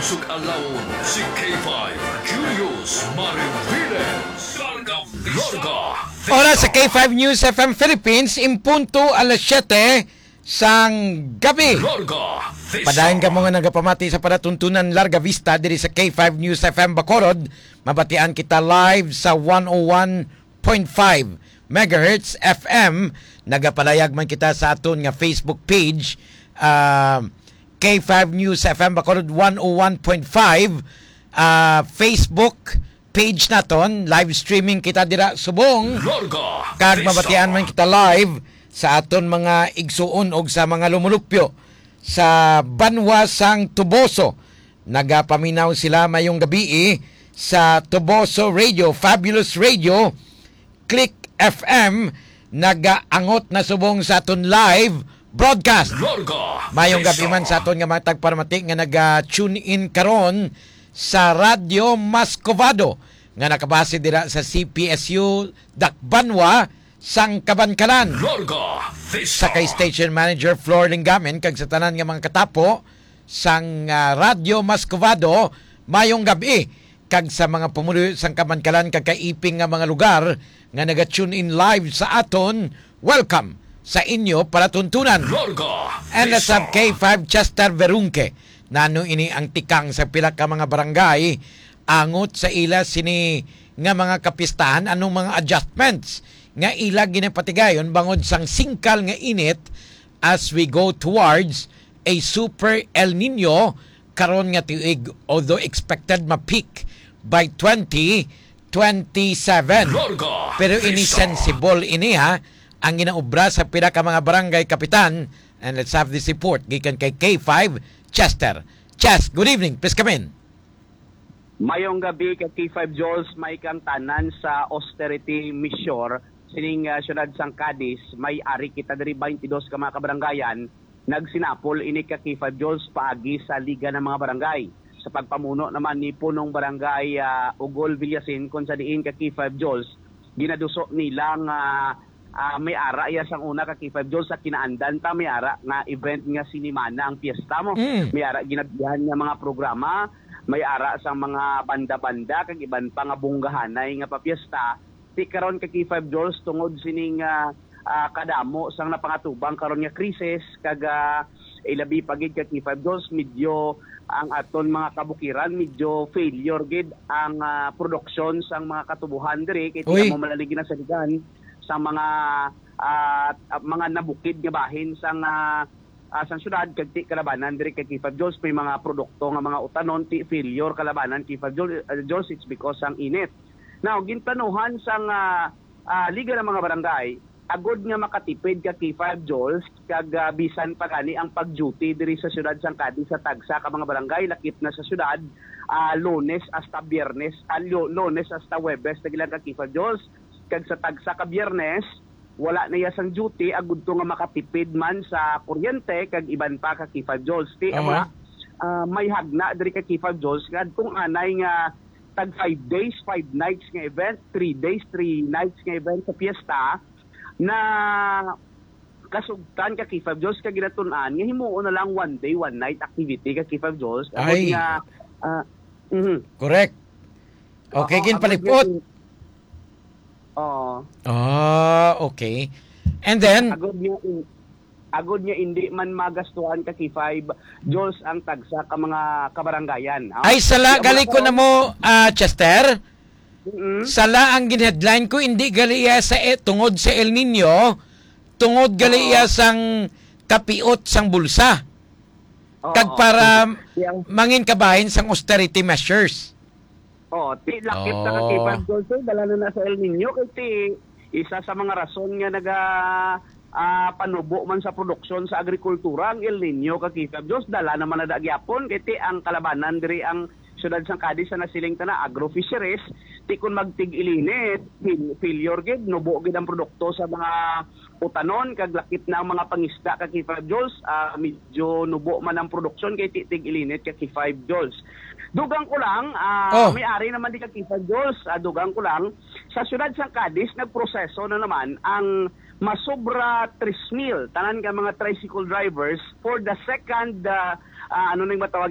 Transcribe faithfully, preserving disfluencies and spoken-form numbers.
Sug-alawon si K five Julius Mariviles. Larga Vista. Oras sa K five News F M Philippines, in punto alas siyete sang gabi. Larga Vista. Padayon kamo nga nagapamati sa palatuntunan Larga Vista diri sa K five News F M Bacolod. Mabatian kita live sa one oh one point five megahertz F M. Nagapalayag man kita sa aton nga Facebook page, ah, K five News F M Bacolod one oh one point five, ah, Facebook page naton. Live streaming kita dira subong. Larga Kag Vista. Mabatian man kita live sa aton mga igsuon og sa mga lumulupyo sa banwa sang Toboso. Nagapaminaw sila mayong gabii sa Toboso Radio, Fabulous Radio, Click F M, nagaangot na subong sa aton live broadcast. Larga Mayong gabi Vista. Man sa aton nga mga tagparamati nga naga-tune in karon sa Radyo Mascovado nga nakabase dira sa C P S U Dakbanwa sang Kabankalan. Larga Vista. Sa kay Station Manager Flor Lingamen kag sa tanan nga mga katapo sang, ah, Radyo Mascovado, mayong gabi, kag sa mga pumuluyo sang Kabankalan kag kaiping nga mga lugar nga naga-tune in live sa aton, welcome sa inyo palatuntunan. Larga And let's have Vista. K five Chester Verunque. Nano ini ang tikang sa pila ka mga barangay angot sa ila sini nga mga kapistahan? Anong mga adjustments nga ila ginapatigayon bangod sang singkal nga init as we go towards a super El Nino karon nga tuig, although expected ma-peak by twenty twenty-seven. Larga Pero ini Vista. Sensible ini, ha, ang ginaobra sa pila ka mga barangay kapitan. And let's have this report gikan kay K five Chester. Chest, good evening. Please come in. Mayong gabi ka K five Jules, may kang tanan sa austerity measure sining, ah, siyudad sang Cadiz. May ari kita diri twenty-dos ka mga kabarangayan. Nagsinapol ini ka K five Jules paagi sa Liga ng mga Barangay. Sa pagpamuno naman ni Punong Barangay, ah, Ugol Villasin, kung sa diin ka K five Jules, ginaduso nila nga, ah, may ara iya sang una ka K five Jules sa kinaandan ta, may ara nga event nga sinimana ang piyesta mo. Mm. May ara ginabihan nga mga programa, may ara sang mga banda-banda, kag iban pa nga bunggahanay nga papiyesta. Ti karon ka K five Jules, tungod sining, ah, ah, kadamo sang napangatubang karon nga krisis, kag, ah, ilabi pa gid ka K five Jules, medyo ang aton mga kabukiran, medyo failure gid ang, ah, produksyon sang mga katubuhan diri, kay ti Uy. Amo man lang ginasaligan sa mga, ah, mga nabukid nga bahin sang, ah, ah, sang syudad, kag ti kalabanan diri ka K five Jules, may mga produkto nga mga utanon, ti failure kalabanan K five Jules, ah, Jules, it's because sang init. Now, ginplanuhan sang, ah, ah, Liga ng mga Barangay, agod nga makatipid ka K five Jules, kag, ah, bisan pa gani ang pag-duty diri sa siyudad sang Cadiz sa tagsa ka mga barangay, lakip na sa siyudad, ah, Lunes hasta Biyernes, ah, Lu-, Lunes hasta Huwebes, nagilang ka K five Jules, kag sa tagsa ka Biyernes, wala na iya sang duty, agud to nga makatipid man sa kuryente kag iban pa ka K five Jules. Ti, Aha. Amo na, ah, may hagna diri ka K five Jules nga adtong anay nga tag five days, five nights nga event, three days, three nights nga event sa piyesta, na kasugtan ka K five Jules, ka ginatun-an nga himuon na lang one day, one night activity ka K five Jules. Agod Ay. Nga, ah, mhm. Correct. Okay, Oo, agod ginpalipot. Nga in-, oo. Ah, okay. And then, Agod nga in-, agod nga indi man magastuhan ka K five Jules ang tagsa ka mga kabaranggayan, ha? Ay, sala, Di, gali ko na mo, ah, Chester. Mm-mm. Sala ang gin-headline ko, hindi gali iya sa, eh, tungod sa El Nino, tungod gali Oo. Iya sang kapiot sang bulsa. Oo. Kag para Yang mangin kabahin sang austerity measures. Oh, ti lakip sa Oh. Katipan, Jose, dala na na sa El Nino, kay ti isa sa mga rason nga naga, ah, panubo man sa produksyon sa agrikultura ang El Nino, ka Kifab Jules, dala naman na da gyapon, kay ti ang kalabanan diri ang siyudad sang Cadiz sa nasiling ta na agro-fisheries, ti kun magtig-ilinit, fil-, failure gid, nubo gid ang produkto sa mga utanon, kag lakip na ang mga pangisda, ka Kifab Jules, ah, medyo nubo man ang produksyon kay ti-, tig-ilinit, ka Kifab Jules. Dugang ko lang, ah, Oh. may ari naman di, ka Kifab Jules, ah, dugang ko lang, sa siyudad sang Cadiz, nagproseso na naman ang masobra tres mil, tanan ka mga tricycle drivers for the second, ah, ah, ano nang matawag